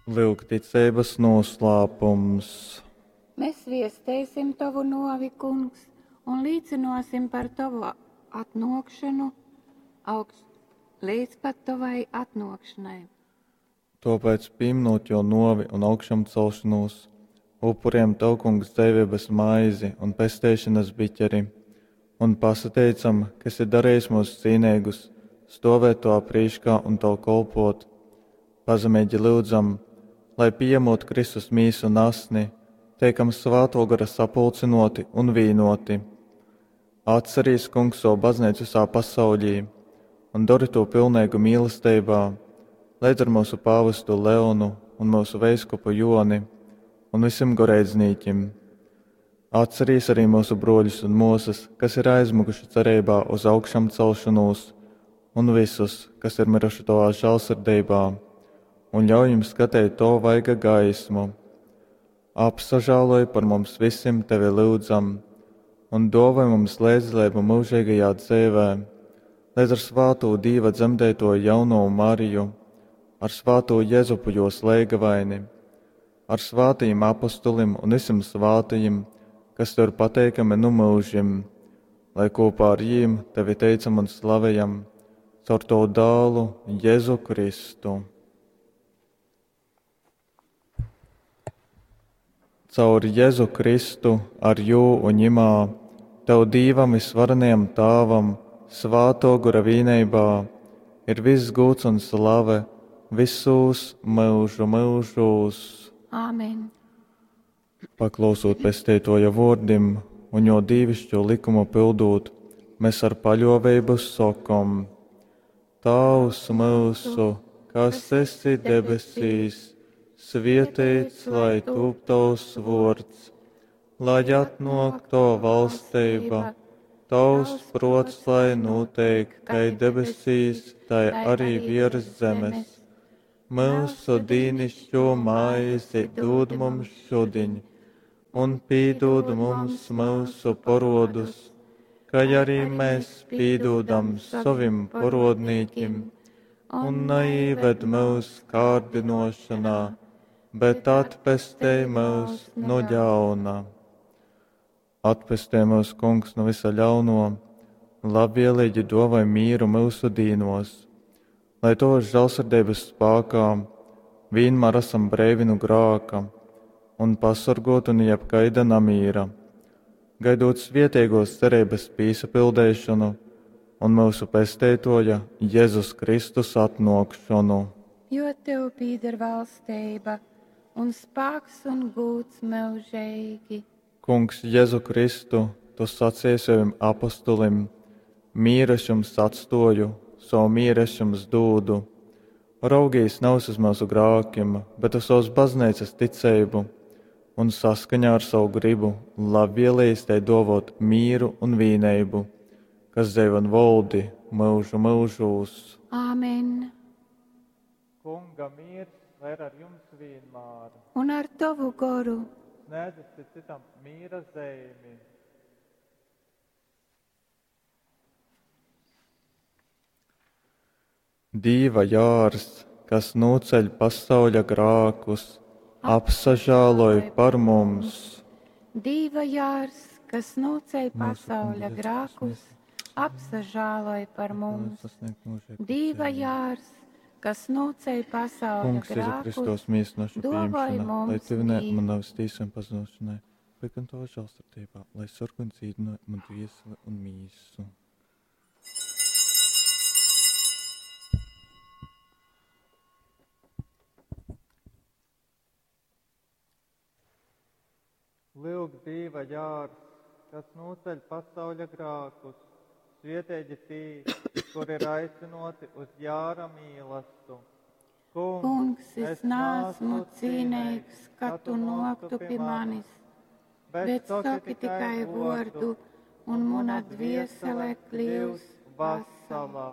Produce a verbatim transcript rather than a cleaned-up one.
Lyuk ticeibas noslēpums. Mēs viesteisim tovu novi, Kungs, un līcinosim par tovu atnōkšanu augš, līdz pat tovai atnōkšanai. Tōpēc, pīminot jō novi un augšamcelšanos, upurējam Tev, Kungs, dzeiveibas maizi un pesteišanas biķeri, un pasateicam, ka esi darījis mūs cīneigus stovēt Tavā prīškā un Tev kolpot. Pazemeigi lyudzam, lai pieņemot Kristus mīsu un asni, teikam Svāto Gara sapulcinoti un vīnoti. Atcerīs, Kungs, savu baznīcu visā pasaulī un dori to pilnīgu mīlestībā, līdz ar mūsu pāvestu Leonu un mūsu veiskupu Joni un visiem goreidznīķim. Atcerīs arī mūsu broļus un mūsas, kas ir aizmukuši cerībā uz augšām celšanos, un visus, kas ir miruši tavā žēlsirdībā, un ļauj jums skatīt to vaiga gaismu. Apsažāloj par mums visiem tevi lūdzam, un dāvāj mums līdzdalību mūžīgajā dzīvē, līdz ar svāto Dīva dzemdēto jauno Mariju, ar svāto Jēzupu jos leigavaini, ar svātajiem apostulim un visiem svātajiem, kas tev ir pateikami nu mūžim, lai kopā ar jīm tevi teicam un slavējam, caur tavu dālu Jēzu Kristu. Caur Jēzu Kristu, ar jū un ņimā, tev Dīvam visvarenajam Tāvam, svāto gora vīneibā, ir viss gūts un slave visūs mūžu mūžūs. Āmen. Paklausot pesteitoja vārdim un jo dīvišķo likumu pildot, mēs ar paļoveibu sokom: Tavs mūsu, kas esi debesīs, svietēts, lai tūp tavs vārds, lai atnāk tava valstība, tavs prots, lai notiek, kai debesīs, tai arī virs zemes. Mūsu dīnišķo maizi dod mums šodien, un pīdod mums mūsu porodus, kā arī mēs pīdodam savim porodnīkim, un neīved mūs kārdinošanā, bet atpestej mūs no ļauna. Atpestē mūs, Kungs, no visa ļauno, labvēlīgi dāvāj mīru mūsu dīnos, lai tavas žēlsirdības spēkā vienmēr esam breivi no grāka un pasargoti no jebkaida namīra, gaidot svietiegos cerības pīsapildēšanu un mūsu pesteitoja Jēzus Kristus atnākšanu. Jo tev pīder valstība un spēks un gūts mūžīgi. Kungs, Jēzu Kristu, tu sacīji saviem apostulim: mīru es jums atstoju, savu mieru es jums dūdu. Raugīs nav uz mūsu grākiem, bet uz savas baznīcas ticību, un saskaņā ar savu gribu labvēlījis tai dovot mīru un vīneibu, kas dzīvo un valdi mūžu mūžūs. Āmen. Kunga miers lai ir ar jums vienmēr. Un ar tavu goru. Sniedzat citam mīra zīmi. Dīva jārs, kas noceļ pasauļa grākus, apsažāloj par mums. Dīva jārs, kas noceļ pasauļa grākus, apsažāloj par mums. Dīva jārs, kas noceļ pasauļa Kungs, Jēzu grākus, Kristus, mīsu našu dāvāj pieņemšana, lai mums tevi ne mīru. man nav tīsam pazušanai, bet gan tavā žēlsirdībā, lai sargu un dzīvinātu man dvieseli un mīsu. Lūk, Dīva jārs, kas noceļ pasauļa grākus, svietēģi tī, kur ir aicinoti uz jāra mīlastu. Kungs, Kungs, es nāsmu cīnīgs, ka tu noktu pie manis, bet saki tikai vārdu, un mana dviesele kļūs vesela. vesela.